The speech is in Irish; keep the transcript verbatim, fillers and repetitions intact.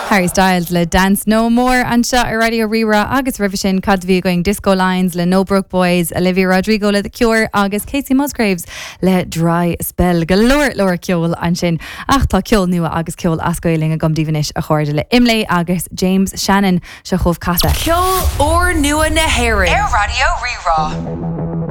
Harry Styles le Dance No More anseo ar Raidió Rí-Rá agus roimhe sin cad bhí againn Disco Lines le No Broke Boys, Olivia Rodrigo le The Cure agus Kacey Musgraves le Dry Spell go leor leor ceol ansin ach tá ceol nua agus ceol as Gaeilge agam daoibh anois a chairde le Imlé agus James Shannon seo chugaibh Casadh. Ceol úrnua na hÉireann Ar Raidió Rí-Rá.